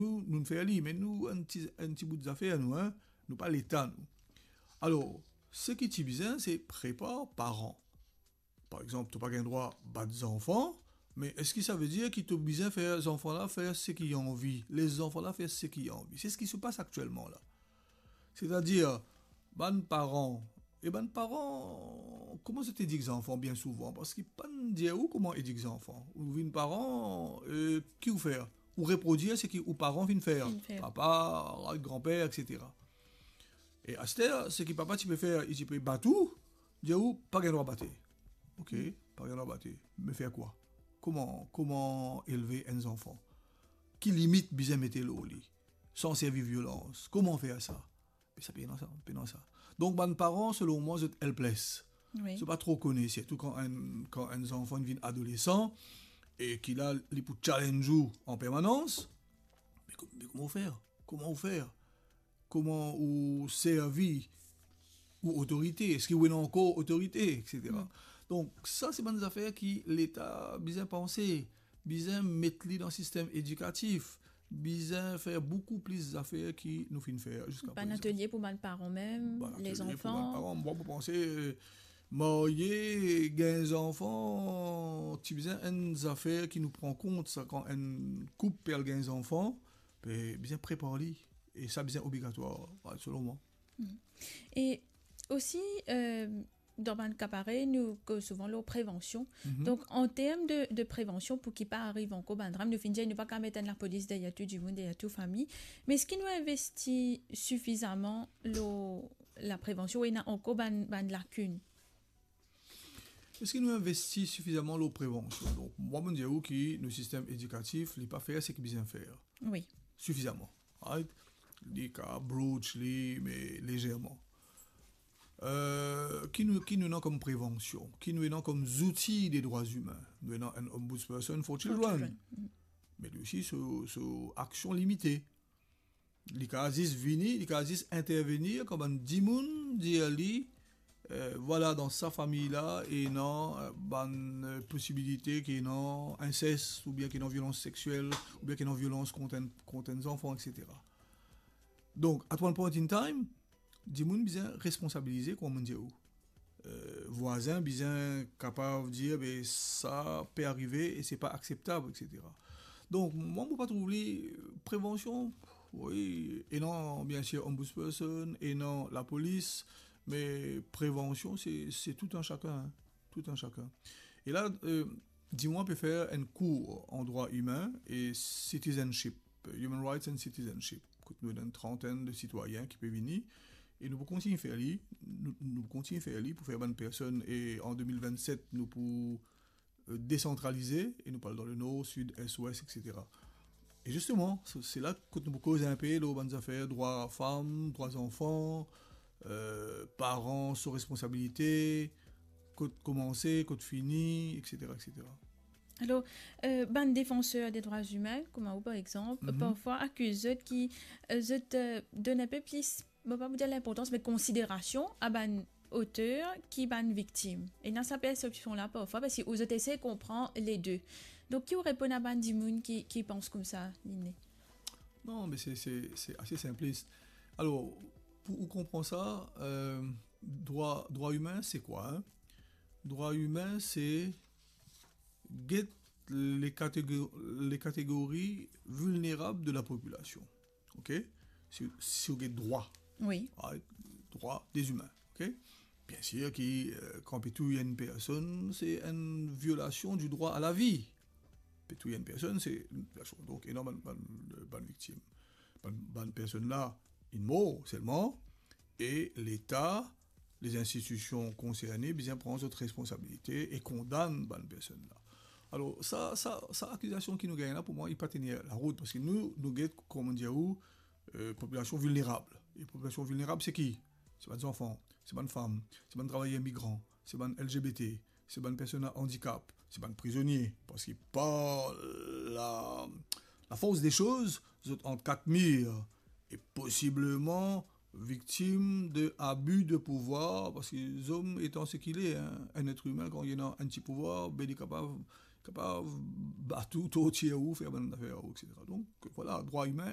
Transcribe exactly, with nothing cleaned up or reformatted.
nou, nou fer li, me nou, enn ti, enn ti bout zafer, nou, hein, nou pa Leta, nou. Alor, seki ti bizin, se prepar paran. Par exanp, to pa gagn drwa bat zanfan, me eski sa ve dir ki to bizin fer zanfan la fer seki li anvi? Les zanfan la fer seki li anvi. Se seki se pas aktielman la. Setadir, bann paran, e bann paran, kouma zot edik zanfan bien souvan? Parski pa dir ou kouma edik zanfan. Ou vinn paran, e ki ou fer? Ou reprodir seki ou paran finn fer. Finn fer. Papa, granper, et cetera. E aster, seki papa ti pe fer, li ti pe bat ou, dir ou, pa gagn drwa bate. Ok, pa gagn drwa bate. Me fer kwa? Kouma, kouma elve enn zanfan? Ki limit bizin mete lor li? San servi violans. Kouma fer sa? Me sa, pena sa, pena sa. Donk, bann paran, selon mwa, zot helpless. Wi. Zot pa tro kone, sirtou kan enn, kan enn zanfan vinn adolesan, e ki la, li pou challenge ou an permanans. Me ko-, me kouma ou fer? Kouma ou fer? Kouma ou servi ou otorite? Eski ou ena ankor otorite, et cetera. Donk, sa, se bann zafer ki Leta bizin panse, bizin met li dan sistem edikatif, bizin fer boukou plis zafer ki nou finn fer ziska prezan. Bann atelie pou bann paran mem, bann les atelie pou bann zanfan. Paran. Mwa, mo panse, marye, gagn zanfan, ti bizin enn zafer ki nou pran kont, sa, kan enn koup pe al gagn zanfan, be, bizin prepar li. E sa bizin obligatwar, selon mwa. E osi, euh, dan bann ka parey, nou koz souvan lor prevansion. Donk, an term de, de prevansion, pou ki pa ariv ankor bann dram, nou finn dir, nou pa kapav met enn lapolis deryer tou dimoun, deryer tou fami. Me eski nou investi sifizaman lor laprevansion, ou ena ankor bann, bann lakinn? Eski nou investi sifizaman lor prevansion? Donk, mwa, mo dir ou ki nou sistem edikatif, li pa fer seki bizin fer. Wi. Sifizaman. Right? Li kapav broach li, me lezerman. Euh, ki nou, ki nou ena kom prevansion? Ki nou ena kom zouti de drwa imin? Nou ena enn Ombudsperson for Children. For Children. Me li osi, so, so aksion limite. Li kapav zis vini, li kapav zis intervenir kan bann dimoun dir li, euh, vwala, dan sa fami la, ena, euh, bann, euh, posibilite ki ena inses, oubien ki ena violans sexiel, oubien ki ena violans kont enn, kont enn zanfan, et cetera. Donk, at one point in time, dimoun bizin responsabilize, kouma mo dir ou. Euh, vwazin bizin kapav dir, be, sa pe arive e se pa akseptab, et cetera. Donk, mwa, mo pa trouv li, euh, prevansion, wi, ena, biensir, Ombudsperson, ena lapolis, me prevansion, se, se tou enn sakenn, hein. Tou enn sakenn. E la, euh, Dimoun pe fer enn kour an drwa imin e citizenship, human rights and citizenship, kot nou ena enn trantenn de sitwayin ki pe vini, e nou pou kontign fer li, nou, nou pou kontign fer li pou fer bann personn, e an de mil vennset, nou pou, euh, desantralize, e nou pou al dan lenor, sid, es, wes, et cetera. E zisteman, se, se la kot nou pou koz inpe lor bann zafer drwa fam, drwa zanfan, euh, paran, so responsabilite, kot koumanse, kot fini, et cetera, et cetera. Alor, euh, bann defanser de drwa imin, kouma ou, par exanp, parfwa akiz zot ki, euh, zot, euh, donn inpe plis, mo pa pou dir linportans, me konsiderasion a bann oter ki bann viktim. Ena sa persepsion la parfwa, parski ou zot esey konpran le de. Donk, ki ou reponn a bann dimoun ki, ki pans koumsa, Linné? Non, me se, se, se ase sinplis. Alor, pou ou konpran sa, euh, drwa, drwa imin, se kwa, hein? Drwa imin, se get le katego-, le kategori vilnerab de la popilasion. Ok? Si, si ou get drwa. Wi. Ah, drwa de imin. Ok? Biensir ki, euh, kan pe touy enn personn, se enn violasion di drwa a lavi. Pe touy enn personn, se enn violasion. Donk, ena bann, bann, bann viktim. Bann, bann personn la, inn mor selman, e Leta, les institutions concernées bizin pran zot responsabilite e kondann bann personn la. Alor, sa, sa, sa akizasion ki nou gagn la, pou mwa, li pa tenir larout, parski nou, nou get, kouma mo dir ou, euh, popilasion vilnerab. E popilasion vilnerab, se ki? Se bann zanfan, se bann fam, se bann travayer migran, se bann L G B T, se bann personn a andikap, se bann prizonie, parski par la, la force des choses, zot ant kat mir, e posibleman viktim de abi de pouvwar, parski zom etan seki li, hein, enn etre imin, kan li ena enn ti pouvwar, be li kapav kapav bat ou, tortir ou, fer bann zafer ou, et cetera. Donk, vwala, drwa imin,